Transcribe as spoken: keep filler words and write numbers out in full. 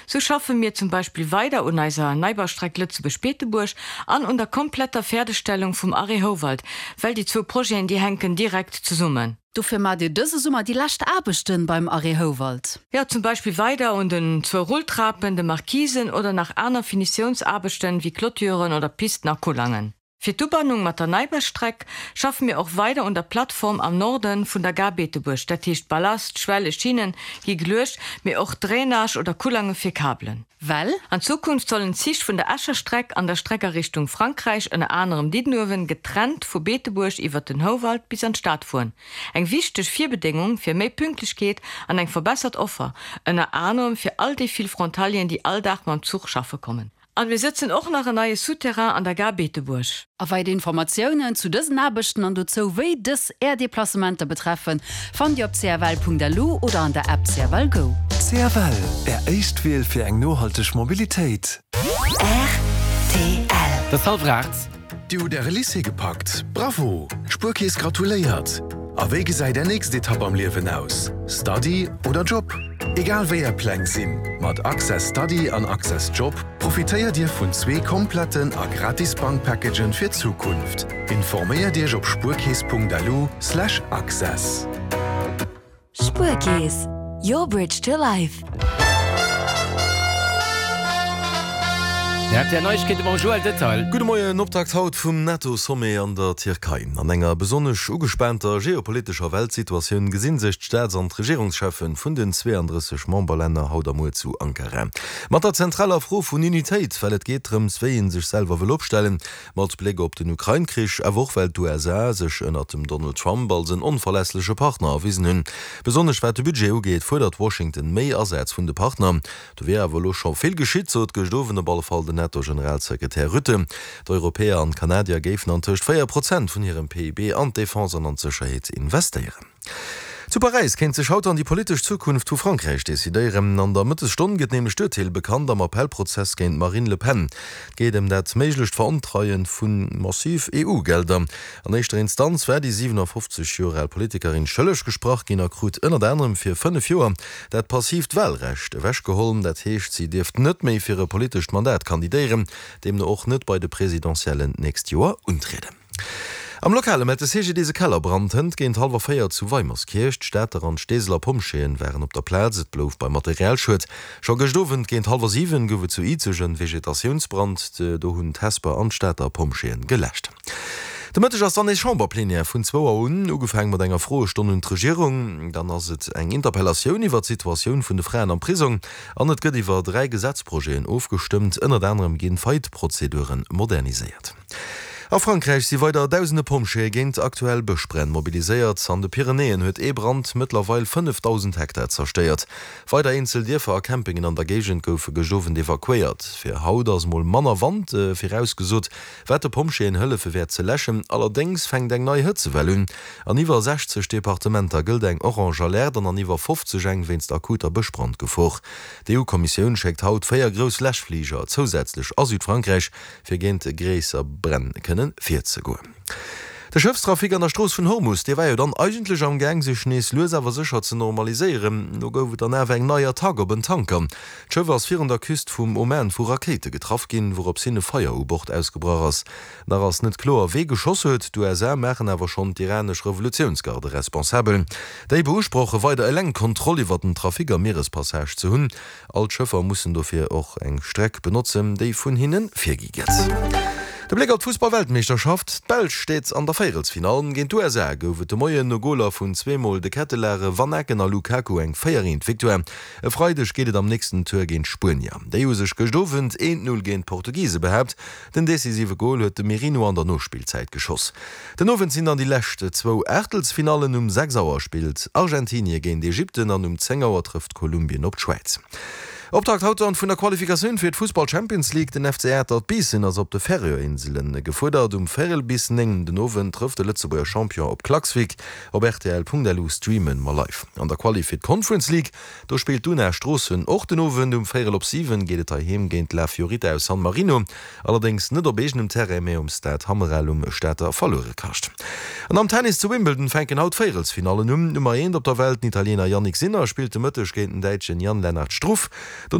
Sou schaffe mir zum Beispill weider un eiser Neibaustreck Lëtzebuerg-Beetebuerg an un der kompletter Fäerdegstellung vum Arrêt Houwald, well déi zwou Projeten, déi hänken direkt zesummen. Dofir maacht Dir dëse Summer déi lescht Aarbechten beim Arrêt Houwald? Jo, zum Beispill weider un den zwou Rulltrapen, de Markisen oder nach aner Finitiounsaarbechten wéi Clôturen oder Pisten a Kullangen. Fir d'Ubannung mat der Neibaustreck schaffe mir och weider un der Plattform am Norden vun der Gare Beetebuerg, dat heescht Ballast, Schwelle, Schinnen gi geluecht, mee och Drainage oder Kullange fir Kabelen. Well? An Zukunft sollen d'Zich vun der Escher Streck an der Streck a Richtung Frankräich, ënner anerem Diddenuewen, getrennt vu Beetebuerg iwwer den Houwald bis an d'Stad fueren. Eng wichteg Virbedéngung fir méi Pünktlechkeet an eng verbessert Offer, ënner anerem fir all déi vill Frontalieren, déi all Dag mam Zuch schaffe kommen. An mir setzen och nach en neie Souterrain an der Gare Beetebuerg. A weider Informatiounen zu dësen Aarbechten an dozou, wéi dës Är Deplacementer betreffen, fannt Dir op cfl.lu oder an der App C F L Go. C F L, Är éischt Wiel fir eng nohalteg Mobilitéit. R T L. Et ass hallwer aacht. Dir hutt Äre Lycée gepackt? Bravo! D'Spuerkeess gratuléiert! A wéi gesäit Är nächst Etapp am Liewen aus? Study oder Job? Egal wéi Är Pläng sinn, mat Access Study an Access Job profitéiert Dir vun zwee kompletten a gratis Bankpackagen fir d'Zukunft. Informéiert Iech op spuerkeess Punkt L U Slash access. Spuerkeess, your bridge to life. R T L Neiegkeete mam Joël Detail. Gudde Moien, Optakt haut vum NATO-Sommet an der Tierkei. An enger besonnesch ugespaanter geopolitescher Weltsituatioun gesinn sech d'Staats an d'Regierungscheffen vun den zweeandrësseg Memberlänner haut a muer zu Ankara. Mat der zentraler Fro vun Unitéit, well et geet drëms, wéi ee sech selwer wëll opstellen, mat Bléck op den Ukrain-Krich, awer och well d'U S A sech ënnert dem Donald Trump als en onverlässleche Partner erwisen hunn. Besonnesch wat de Budget ugeet, fuerdert Washington méi Asätz vun de Partner. Do wier awer elo scho vill geschitt, sot gëscht Owend op alle Fall den NATO-Generalsekretär Rutte. D'Europäer an d'Kanadier géifen antëscht véier Prozent vun hirem P I B an d'Defense an an d'Sécherheet investéieren. Zu Paräis kéint sech haut dann déi politesch Zukunft vu Frankräich decidéieren. An der Mëttesstonn gëtt nämlech d'Urteel bekannt am Appellprozess géint d'Marine Le Pen. Et geet ëm dat méiglecht Verontreie vu massiv E U-Gelder. An éischter Instanz war déi siwenafofzeg Joer al Politikerin schëlleg gesprach ginn a krut ënnert anerem fir fënnef Joer dat passiivt Walrecht ewechgeholl. Dat heescht, si dierft net méi fir e politescht Mandat kandidéieren, deemno och net bei de Presidentiellen d'nächst Joer untrieden. Am Lokale mellt de C G D S e Kellerbrand hënt géint hallwer véier zu Weimerskierch. D'Stater an d'Steeseler Pompjeeën waren op der Plaz, et blouf beim Materialschued. Scho gëscht Owend géint hallwer siwen gouf et zu Izeg en Vegetatiounsbrand, do hunn d'Hesper an d'Stater Pompjeeën geläscht. De Mëtteg ass dann nees Chamberplenière vun zwou Auer un, ugefaange mat enger Froestonn un d'Regierung. Dann ass et eng Interpellatioun iwwer d'Situatioun vun de Fraen am Prisong an et gëtt iwwer dräi Gesetzprojeten ofgestëmmt. Ënnert anerem ginn d'Faillite-Prozeduren moderniséiert. A Frankräich si weider dausende Pompjeeë géint aktuell Bëschbränn mobiliséiert. An de Pyrenäen huet ee Brand mëttlerweil fënnefdausend Hektar zerstéiert. Weider eenzel Dierfer a Campingen an der Géigend goufe gëscht Owend evakuéiert. Fir haut ass mol manner Wand virausgesot, wat de Pompjeeën hëllefe wäert ze läschen. Allerdéngs fänkt eng nei Hëtzewell un. An iwwer sechzeg Departementer gëllt eng orange Alerte an an iwwer fofzeg eng wéinst akuter Bëschbrandgefor. D'E U-Kommissioun schéckt haut véier grouss Läschfliger zousätzlech a Südfrankräich, fir géint gréisser Bränn kënnen virzegoen. De Schëffstrafic an der Strooss vun Hormus, dee war jo dann eigentlech am Gaang sech nees lues awer sécher ze normaliséieren. Do gouf et dann awer eng nei Attack op en Tanker. D'Schëff ass virun der Küst vum Oman vu Rakéite getraff ginn, wourops hin e Feier u Bord ausgebrach ass. Nach ass net kloer, wee geschoss huet. D'U S A maachen awer schonn d'iranesch Revolutiounsgarde responsabel. Déi beusproche weider eleng d'Kontroll iwwer den Trafic am Mierespassage ze hunn. All d'Schëffer mussen dofir och eng Streck benotzen, déi vun hinne virgi gëtt. De Bléck op d'Fussballweltmeeschterschaft, D'Belsch steet an der Véierelsfinall. Géint d'U S A gouf et de Moien no Goler vun zweemol De Ketelaere, Van Aken a Lukaku eng véier eent Victoire. E Freideg geet et am nächsten Tour géint d'Spuenier. Déi hu sech gëscht Owend eent null géint d'Portugise behaapt. Den decisive Gol huet de Merino an der Nospillzäit geschoss. Den Owend sinn dann déi lescht zwou Aachtelsfinallen. Um sechs Auer spillt Argentinie géint Ägypten an um zéng Auer trëfft Kolumbien op d'Schwäiz. Optakt haut dann vun der Qualifikatioun fir d'Fussball-Champions League. Den F C Atert Biissen ass op de Färöerinselen gefuerdert. Um véierel bis néng den Owend trëfft de Lëtzebuerger Champion op Klaksvik. Op R T L Punkt L U streamen mer live. An der Quali fir d'Conference League, do spillt d'Una Stroossen och den Owend. Um véierel op siwen geet et heiheem géint La Fiorita aus San Marino. Allerdéngs net op eegenem Terrain, mä um Stade Hammerel um Stater Verluerekascht. An am Tennis zu Wimbledon fänken haut d'Véierelsfinallen un. Nummer eent op der Welt, den Italiener Jannik Sinner, spillt de Mëtteg géint den Däitschen Jan-Lennard Struff. Dono